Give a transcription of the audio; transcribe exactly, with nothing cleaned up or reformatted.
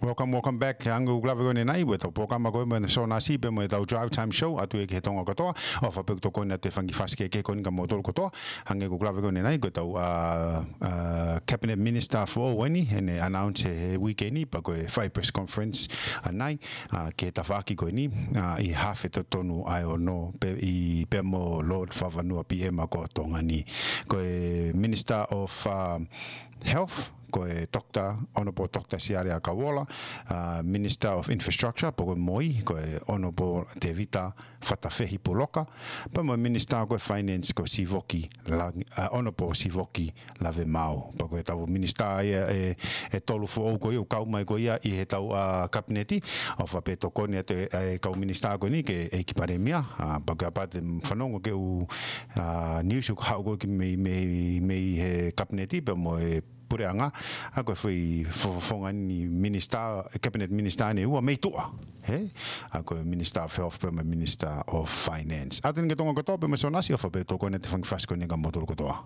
Welcome, welcome back. Hangē ko e lave ko eni ʻanenai, ko ʻetau polokalama ko eni mo Sōnasi pea mo ʻetau Drive Time Show, ʻoatu ia ki he Tonga kotoa, ʻofa pē ʻoku tokoni atu e fanga kiʻi fasi kehekehe ko eni kia moutolu kotoa. Hangē ko e lave ko eni ʻanenai, ko ʻetau, ā, ā, Cabinet Minister foʻou eni, ʻene announce he, he weekend ni, pea ko e fai press conference ʻanenai, ā, ki he tafaʻaki ko eni, ā, ʻi he hafe totonu ʻa e ono, pea, ʻi, pea mo Lord Fakavanua P M ko Tonga ni. Ko e Minister of, ā, Health, ko e Doctor, Honourable Doctor Siale ʻAkauola, ā, Minister of Infrastructure, pea ko e MOI, ko e Honourable Tevita Fatafehi Puloka, pea mo e Minister ko e Finance ko Sivoki Lang-, ā, Honourable Sivoki Lavemaau. Pea ko ʻetau minister ia ʻe, ʻe tolu foʻou ko ia ʻoku kau mai ko ia ʻi heʻetau, ā, kapineti, ʻofa pē ʻoku tokoni atu e, e kau minister ko eni ki he ʻEiki Palēmia, ā, pea kapau te fanongo ki he ʻū, ā, news ʻoku haʻu ko ē ki mei, mei, mei he kapineti pea mo e puleʻanga, ā, ko e foʻi fo-, fofonga ni minister, cabinet minister ʻe ua mei tuʻa, hē? Ā, ko e Minister of Health pea mo e Minister of Finance. ʻOatu eni ki he Tonga kotoa pea mo Sōnasi, ʻofa pē ʻoku tokoni atu e fanga kiʻi fasi ko eni kia moutolu kotoa.